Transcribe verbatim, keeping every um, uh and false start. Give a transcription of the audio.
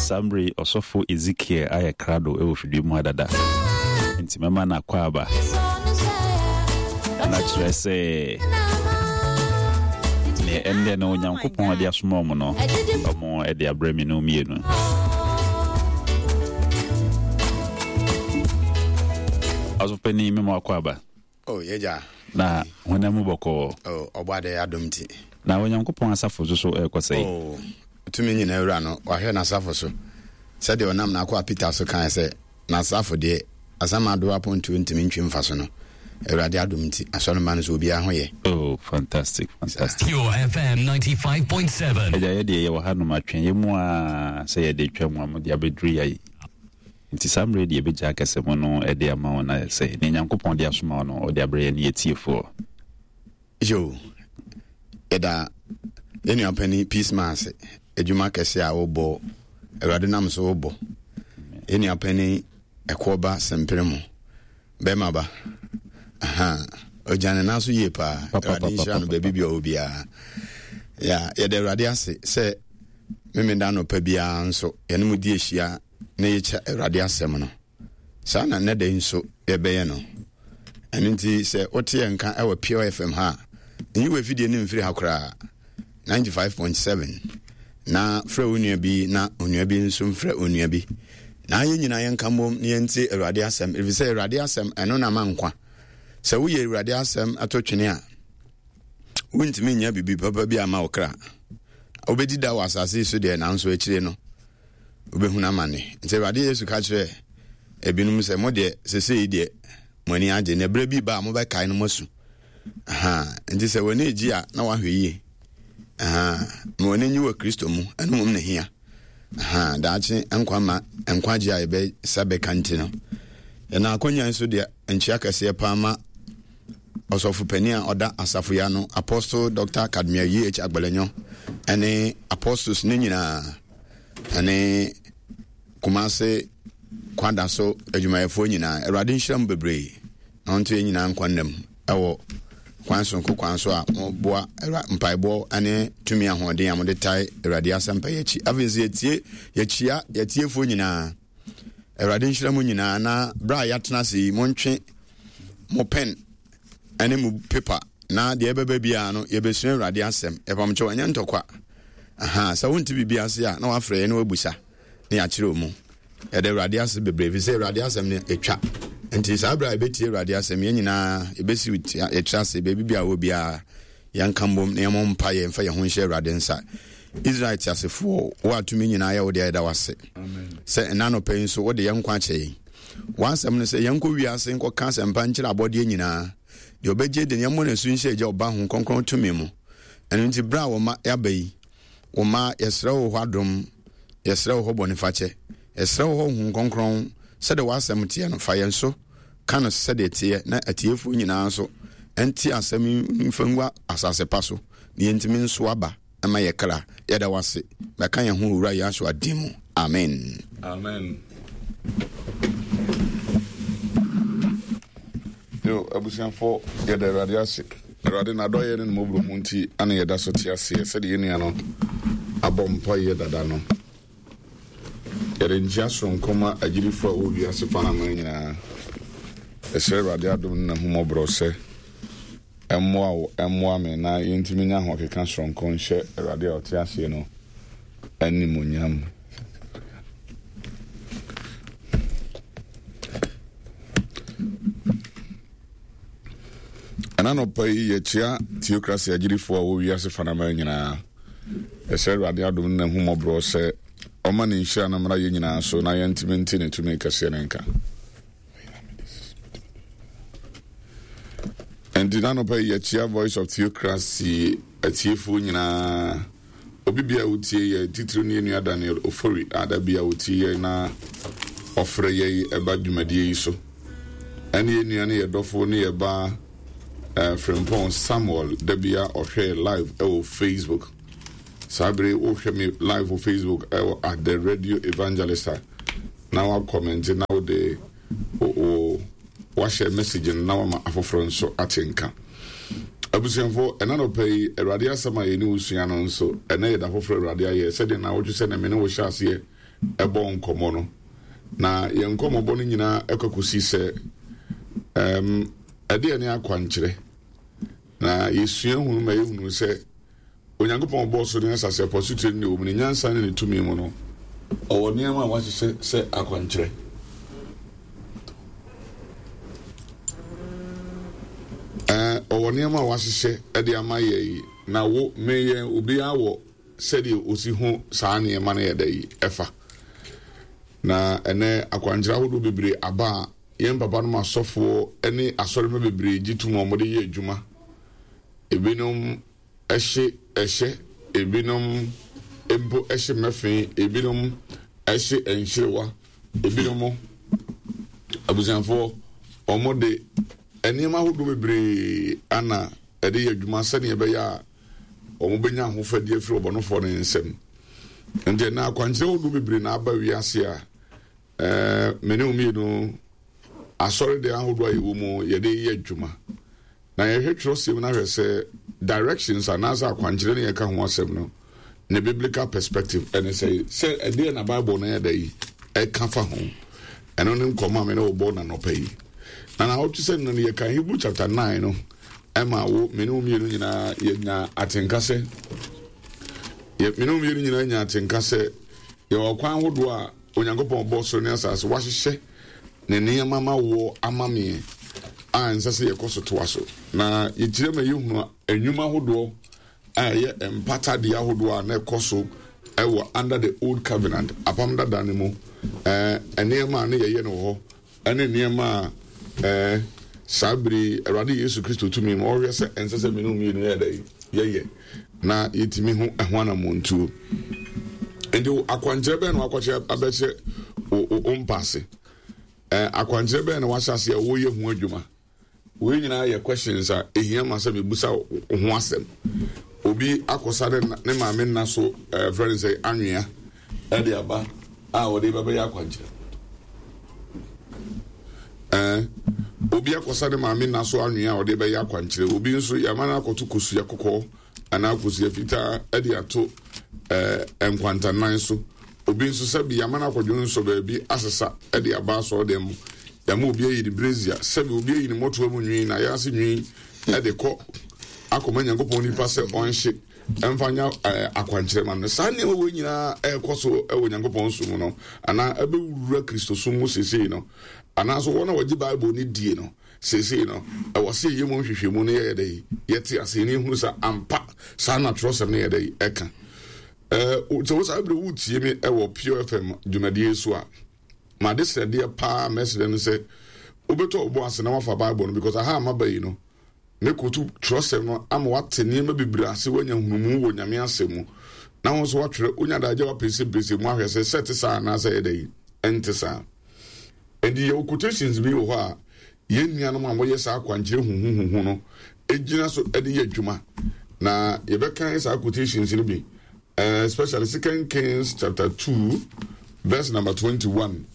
Saa mmerɛ yi ɔsɔfo Ezekiel ayɛ krado wɔ fidua mu ha dada. Nti mɛma no akwaaba. Na kyerɛ sɛ neɛ ɛndɛ no Onyankopɔn de asoma ɔmo no, ɔmo de abrɛ me no mmienu. Ɔsɔfo mema akwaaba. Oh, yɛgya. Na honam mu bɔkɔɔ. Oh, ɔbɔ adɛ adom nti. Na Onyankopɔn asafo so so ɛrekɔ sɛe. Oh, tumi nyina wura no, wahwɛ n'asafo so. Sɛdeɛ ɔnam n'akoa Peter so kae sɛ, n'asafo deɛ, asamando apontoɔ ntumi ntwe mfa so no. Awurade adom nti, asɔremma no so obiara ho yɛ. Oh, fantastic, fantastic. Pure F M ninety-five point seven. Agya, yɛ deɛ yɛwɔ hanom atwɛn yɛ mu a sɛ yɛde twa mu a mode abɛduru yɛ. Nti saa mmerɛ deɛ yɛbɛgya akɛsɛ mu no de ama wo na sɛ ne Nyankopɔn de asoma wo no ɔde abrɛ yɛ ne yɛtiefoɔ. Yo, yɛda yɛn nua panin Peace Man ase, adwuma kɛse a wobɔ, Awurade nam so wobɔ. Yɛn nua panin Ɛkoɔba Sempere mu, bɛrima ba. Aha, ɔgya ne nan so yie paa. Awurade nhyira no baabi bi a ɔwɔ biara. Ya, yɛda Awurade ase sɛ Memeda anɔpa biara nso yɛne mo di ahyia na yɛkyɛ Awurade asɛm no. Saa na nnɛ da yi nso yɛbɛyɛ no. Ɛno nti sɛ wote yɛn nka ɛwɔ Pure F M ha a, nyi w'afidie no mfiri ha koraa. ninety-five point seven na frɛ wo nua bi na onua bi nso mfrɛ onua bi na yɛn nyinaa yɛnka mmom na yɛntie Awurade asɛm, ɛfiri sɛ Awurade asɛm ɛno na ma nkwa. Sɛ woyɛ Awurade asɛm ato twene a, wontumi nya biribi papa bi ama wo kra. Wobɛdi da wɔ asase yi so deɛ, nanso akyire no wobɛhunu amane. Nti Awurade Yesu ka kyerɛ ebinom sɛ, mo deɛ, sesei deɛ mo ani agye, na berɛ bi ba a mobɛkae no moasu. Aha, nti sɛ w'ani gye a na wahwɛ yie. Aha, ma w'ani nye wɔ Kristo mu, ɛno mmom na hia. Aha, daakye nkwa ma nkwagye a yɛbɛsa bɛka nti no, yɛn akɔnya nso deɛ nkyia kɛseɛ paa ma ɔsɔfo panin a ɔda asafo yi ano, Apostle Doctor Kadmiel E H. Agbalenyo, ɛne apostles ne nyinaa, ɛne Kumase kwada so adwumayɛfoɔ nyinaa. Awurade nhyira mu bebree na ɔnto yɛn nyinaa nkwa nnam ɛwɔ kwan sonko kwan so a moboa mpaebɔ ne tumi ahoɔden a mode tae Awurade asɛmpa yi akyi. Afei nso yɛtie yɛkyia yɛtiefoɔ nyinaa. Awurade nhyira mu nyinaa, na berɛ a yɛatena ase yi, montwe mo pen ne mo paper na deɛ ɛbɛba biara no yɛbɛsua Awurade asɛm. Yɛpamkyɛw, ɛnyɛ ntɔkwa. Aha, sɛ wonte biribi ase a na wafrɛ yɛ na wabusa na yɛakyerɛ mu. Yɛde Awurade ase bebree fi sɛ Awurade asɛm no ɛtwa. Nti saa berɛ a yɛbɛtie Awurade asɛm, yɛn nyinaa yɛbɛsi yɛkyerɛ ase baabi bi a wɔ biara, yɛnka mbom na yɛmmɔ mpa yɛ mfa yɛn ho nhyɛ Awurade nsa. Israel teasefoɔ, wo atumi nyinaa yɛ wo deɛ, yɛda wase sɛ ɛna anɔpa yi nso wode yɛn nkwa akyɛ yɛn. W'asɛm no sɛ yɛnkɔ wiase nkɔka asɛmpa nkyerɛ abɔdeɛ nyinaa, deɛ ɔbɛgye de yɛmmɔ n'asu nhyɛ Agya, Ɔba, Ho Kronkron tumi mu. Ɛno nti berɛ a wɔma yɛaba yi, wɔma yɛsrɛ wo hɔ adom, yɛsrɛ wo hɔ bɔnefakyɛ, yɛsrɛ wo hɔ Honhom Kronkron. Sɛdeɛ w'asɛm teɛ no, fa yɛn so ka no sɛdeɛ teɛ, na atiefoɔ nyinaa nso ɛnte asɛm yi mfa ngu asase pa so na yɛntumi nso aba ɛma yɛ kra. Yɛda wase, bɛka yɛn ho Owura Yahshua din mu, amen. Amen. Yo, abusuafo, yɛda Awurade ase. Awurade n'adɔyɛ ne ne mmɔborɔhu nti ana yɛda so te aseɛ sɛdeɛ yɛn nua no abɔ mpaeɛ dada no. Yɛde nkyia soronko ma agyidifo a wɔwɔ wiase fa no aman nyinaa. Yɛsrɛ Awurade adom ne n'ahummɔborɔ sɛ ɛmmoa wo, ɛmmoa me na yɛntumi nya ahokeka soronko nhyɛ Awurade a ɔte aseɛ no animuonyam. Ɛna nɔpa yi yɛkyia theocracy agyidifoɔ a wɔwɔ wiase fa no aman nyinaa. Yɛsrɛ Awurade adom ne n'ahummɔborɔ sɛ ɔma ne nhyira no mmra yɛn nyinaa so na yɛntumi nte ne tumi kɛseɛ no nka. Nti n'anɔpa yi yɛkyia Voice of Theocracy atiefoɔ nyinaa. Obi bia a wotie yɛ, titiri ne yɛn nua Daniel Ofori a da bia wotie yɛ na ɔfrɛ yɛ ɛba dwumadie yi so. Ɛne yɛn nua ne yɛ dɔfo ne yɛ ba eh, Frimpong Samuel, da bia ɔhwɛ live ɛwɔ Facebook. Saa bere wohwɛ me live wɔ Facebook ɛwɔ at the Radio Evangelist a, na wakɔmɛnte na wode o wahyɛ message no na wama afoforɔ nso ate nka. Abusuafo, ɛna nɔpɛ yi Awurade asɛm a yɛne wo sua no nso, ɛnɛ yɛ da foforɔ Awurade ayɛ, sɛdeɛ na wotwe sɛ na me ne wo hyɛ aseɛ ɛbɔ nkɔmmɔ no. Na yɛn nkɔmmɔbɔ no nyinaa ɛkɔ kɔsi sɛ um, ɛdeɛ ne akwankyerɛ. Na yɛsua hunu ma yɛhunu sɛ Onyankopɔn bɔɔ soro ne asase, ɛpo, asutire ne nea ɛwɔ mu, ne nyansa ne ne tumi mu no, ɔwɔ nneɛma a wahyehyɛ sɛ akwankyerɛ. Ɛɛ, ɔwɔ nneɛma a wahyehyɛ de ama yɛn yi, na wo, me, yɛn, obiara wɔ sɛdeɛ osi ho saa nneɛma no yɛ dɛ yi ɛfa. Na ɛnɛ akwankyerɛ ahodoɔ bebree aba a yɛn papa nom asɔfoɔ ne asɔremma bebree gye tom a wɔde yɛ adwuma. Ebinom hye ɛhyɛ, ebinom mpo hye mmɛfe, ebinom hye nhyerewa, ebinom abusuafoɔ wɔde nneɛma ahodoɔ bebree ana ɛde yɛ adwuma sɛdeɛ ɛbɛyɛ a wɔbɛnya ahofadie afiri ɔbɔnefoɔ no nsam. Nti ɛnna akwankyerɛ ahodoɔ bebree na aba wiase a ɛɛ me ne wo mmienu asɔredan ahodoɔ a yɛwɔ mu yɛde yɛ adwuma. Na yɛhwɛ twerɛsɛm no ahwɛ sɛ directions anaasɛ akwankyerɛ no yɛka ho asɛm no ne biblical perspective ɛne sɛ sɛ ɛdeɛ na Bible no yɛ da yi ɛka fa ho. Ɛno ne nkɔmmɔ a me ne wo bɔ na nɔpa yi. Na na wotwe sɛ no no yɛka Hebrew chapter nine no ɛma wo me ne wo mmienu nyinaa yɛnya atenka sɛ me ne wo mmienu nyinaa nya atenka sɛ yɛwɔ kwan ahodoɔ a Onyankopɔn bɔɔ soro ne asase, wahyehyɛ ne nneɛma ma woɔ ama meɛ a ɛnsɛ sɛ yɛkɔ so toa so. Na yɛkyerɛ ma yɛhunu nnwuma ahodoɔ a ɛyɛ mpata deɛ ahodoɔ a na ɛkɔ so ɛwɔ under the old covenant, apam dada no mu, ɛɛ nneɛma a na yɛyɛ no wɔ hɔ ɛne nneɛma a ɛɛ saa bere yi Awurade Yesu Kristo tumi ma ɔhwɛ sɛ ɛnsɛ sɛ mene mmienu yɛ dɛ yɛyɛ na yɛtumi ho ɛho anammɔntuo. Nti akwankyerɛ bɛn na wakɔkyerɛ abɛkyerɛ wo mpaase? Ɛɛ akwankyerɛ bɛn na wahyɛ ase a wɔyɛ ho adwuma? Wei nyinaa yɛ questions a ehia ma sɛ mebusa wo ho asɛm. Obi akɔsa ne ne maame nna so ɛɛ frɛ no sɛ anwea ɛde aba a wɔde bɛbɛyɛ akwankyerɛ. Ɛɛ obi akɔsa ne maame nna so anwea a ɔde bɛyɛ akwankyerɛ. Obi nso yɛama no akɔto kosua kɔkɔɔ anaa kosua fitaa de ato ɛɛ nkwantanan so. Obi nso sɛbi yɛama no akɔdwo nsɔ baabi asesa de aba asɔɔdan mu. Yɛama obi ayi ne brezia, sɛbi obi ayi ne mmɔtoa mu nwi, n'ayase nwi de kɔ akɔma Nyankopɔn nipa sɛ ɔnhye ɛmfa nya ɛɛ akwankyerɛ ma no. Saa nneɛma wei nyinaa ɛrekɔ so wɔ Nyankopɔn som mu no, anaa ɛbɛwura Kristosom mu seesei no, anaasɛ wɔn a wɔgye Bible no die no, Seesei no, ɛwɔ sɛ yɛyɛ mu nhwehwɛmu na yɛyɛ dɛ yɛte ase na yɛhunu sɛ ampa saa na twerɛsɛm no yɛ dɛ ɛka. Sɛ wo saa berɛ wotie me wɔ Pure F M dwumadie so a, made srɛdeɛ paa mɛsrɛ no sɛ wobɛtɔ wo bo ase na wafa Bible no, because aha a maba yi no mɛkotu twerɛsɛm no ama wate nneɛma bebree ase, woanya nhunumu wɔ Nyame asɛm mu, na wo nso woatwerɛ, wonya daagye a wapɛsɛmpɛsɛ mu ahwɛ sɛ sɛ ɛte saa anaasɛ ɛyɛ dɛ ɛnte saa. Enti yɛwɔ quotations bi wɔ hɔ a yɛn nuanom a wɔyɛ saa akwankyerɛ huhuhuhu no gyina so de yɛ adwuma. Na yɛbɛkan saa quotations no bi, eh, especially Second Kings chapter two verse number twenty-one.